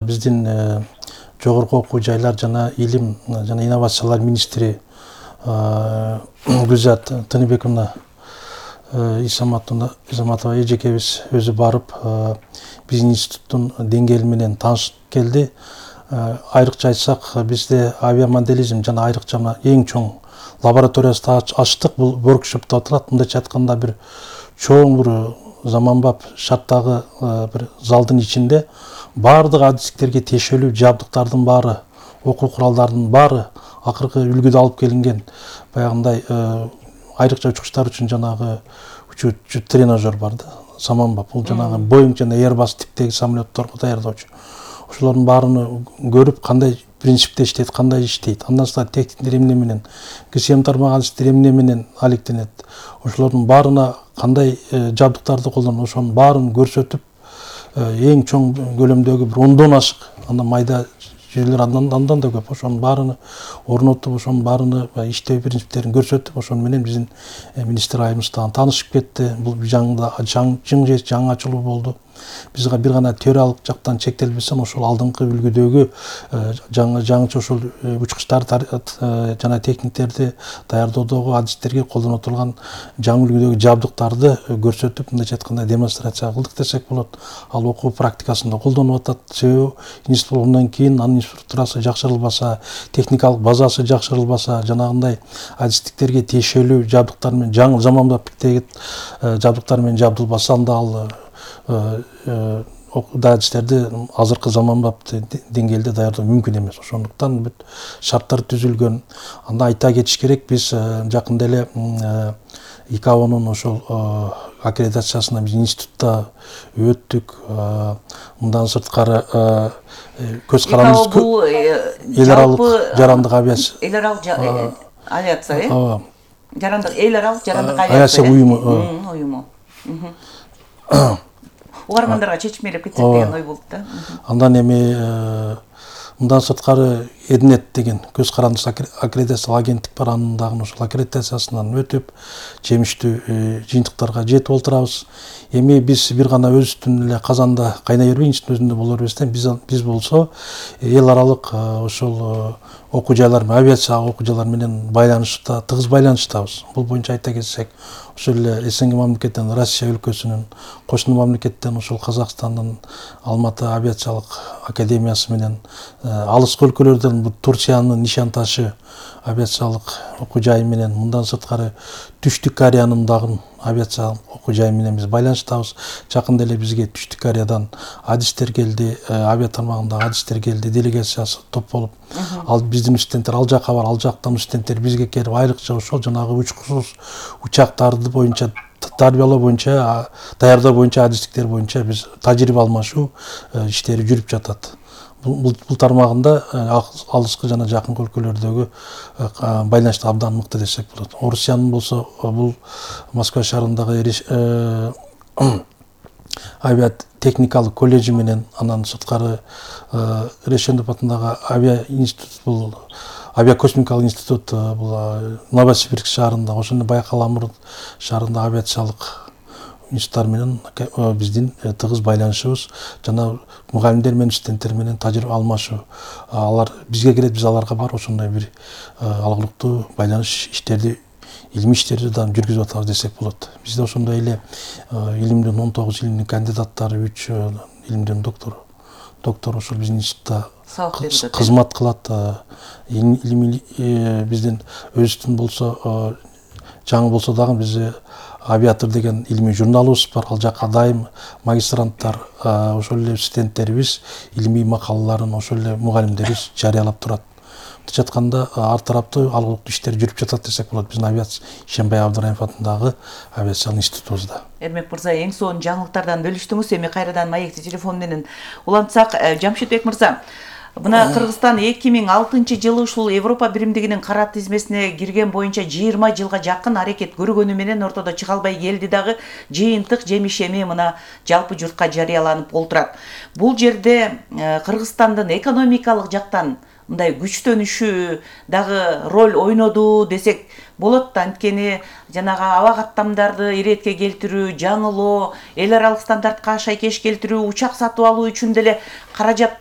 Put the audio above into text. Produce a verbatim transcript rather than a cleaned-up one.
биздин жогорку окуу жайлар жана илим жана инновациялар министри Гүлзат Тыныбековна Исаматова эжекебиз өзү барып биздин институттун деңгээли менен таанышып келди. Айрыкча айтсак, бизде авиамоделизм жана айрыкча эң чоң лабораториясы ачтык. Бул воркшопто отурат. Мындайча айтканда бир чоң бир заманбап шарттагы бир залдын ичинде баардык адистиктерге тиешелүү жабдыктардын баары, окуу куралдарынын баары акыркы үлгүдө алып келинген. Баягындай айрыкча учкучтар үчүн жанагы учуу тренажер бар да, саманбап. Бул жанагы Boeing жана Airbus типтеги самолетторго даярдоочу. Ошолордун баарын көрүп, кандай принципте иштейт, кандай иштейт. Андан соң техниктер эмне менен, ГСМ тармагы адистер эмне менен алектенет. Ошолордун баарына кандай жабдыктарды колдонот, ошонун баарын көрсөтүп, эң чоң көлөмдөгү бир ондон ашык, андан майда жерлер андан андан да көп. Ошонун баарыны орнотуп, ошонун баарыны иштөө принциптерин көрсөтүп, ошону менен биздин министр айымыз дагы таанышып кетти. Бул жаңда жың жаңы ачылуу болду. Бизге бир гана теориялык жактан чектелбесем, ошол алдыңкы үлгүдөгү жаңы жаңыча ошол учкучтар жана техниктерди даярдоодогу адистерге колдоно турган жаңы үлгүдөгү жабдыктарды көрсөтүп, мындайча айтканда демонстрация кылдык десек болот. Ал окуу практикасында колдонуп атат. Себеби институт болгондон кийин анын инфраструктурасы жакшырылбаса, техникалык базасы жакшырылбаса, жанагындай адистиктерге тиешелүү жабдыктар менен, жаңы заманбап типтеги жабдыктар менен жабдылбаса, анда ал адистерди азыркы заманбап деңгээлде даярдоо мүмкүн эмес. Ошондуктан бүт шарттар түзүлгөн. Анда айта кетиш керек, биз жакында эле ИКАОнун ошол аккредитациясына биз институтта өттүк. Мындан сырткары көз карандыбыз бул эл аралык жарандык авиация. Эл аралык авиация, э? Жарандык эл аралык жарандык авиация уюму. Уюму. Угармандарга чечмелеп кетсек деген ой болду да. Андан эми мындан сырткары Эднет деген көз карандысыз аккредитациялык агенттик бар. Анын дагы ошол аккредитациясынан өтүп, жемиштүү жыйынтыктарга жетип отурабыз. Эми биз бир гана өзүбүздүн эле казанда кайнай бербей, институттун өзүндө боло бербестен, биз биз болсо эл аралык ошол окуу жайлар, авиация окуу жайлар менен байланышта, тыгыз байланыштабыз. Бул боюнча айта кетсек, ошол эле СНГ мамлекеттен, Россия өлкөсүнүн, кошуна мамлекеттен ошол Казакстандын Алматы авиациялык академиясы менен, алыскы өлкөлөрдөн Турциянын Нишан ташы авиациялык окуу жайы менен, мындан сырткары Түштүк Кореянын дагы авиациялык окуу жайы менен биз байланыштабыз. Жакында эле бизге Түштүк Кореядан адистер келди, авиа тармагындагы адистер келди, делегациясы топ болуп. Ал биздин студенттер ал жака бар, ал жактан студенттер бизге келип, айрыкча ошол жанагы учкусуз учактарды боюнча тарбиялоо боюнча, даярдоо боюнча, адистиктер боюнча биз тажрыйба алмашуу иштери жүрүп жатат. Бул тармагында алыскы жана жакынкы өлкөлөрдөгү байланыш абдан мыкты десек болот. Орусиянын болсо, бул Москва шаарындагы авиатехникалык колледжи менен, андан сырткары Решендов атындагы авиа институт, бул авиакосмикалык институт, бул Новосибирск шаарында, ошондой Байкал Амур шаарында авиациялык институттар менен биздин тыгыз байланышыбыз жана мугалимдер менен студенттер менен тажрыйба алмашуу. Алар бизге келет, биз аларга бар, ошондой бир алгылыктуу байланыш иштерди, илимий иштерди да жүргүзүп атабыз десек болот. Бизде ошондой эле илимдин он тогуз илимдин кандидаттары, үч илимдин доктору, доктор ошол биздин институтта кызмат кылат. Илимий биздин өзүбүздүн болсо, жаңы болсо дагы биз Авиатор деген илимий журналыбыз бар. Ал жакка дайым магистранттар, ошол эле студенттерибиз илимий макалаларын ошол эле мугалимдерибиз жарыялап турат. Мындайча айтканда, ар тараптуу алгылыктуу иштер жүрүп жатат десек болот биздин авиация Ишембай Абдыраимов атындагы авиациялык институтубузда. Эрмек мырза, эң сонун жаңылыктардан бөлүштүңүз. Эми кайрадан маекти телефон менен улантсак, Жамшитбек мырза, мына Кыргызстан эки миң алтынчы жылы ушул Европа биримдигинин кара тизмесине кирген боюнча жыйырма жылга жакын аракет көргөнү менен ортодо чыга албай келди дагы жыйынтык жемиш эми мына жалпы журтка жарыяланып олтурат. Бул жерде Кыргызстандын экономикалык жактан мындай күчтөнүшү дагы роль ойноду десек болот да. Анткени жанагы аба каттамдарды иретке келтирүү, жаңылоо, эл аралык стандартка шайкеш келтирүү, учак сатып алуу үчүн деле каражат керек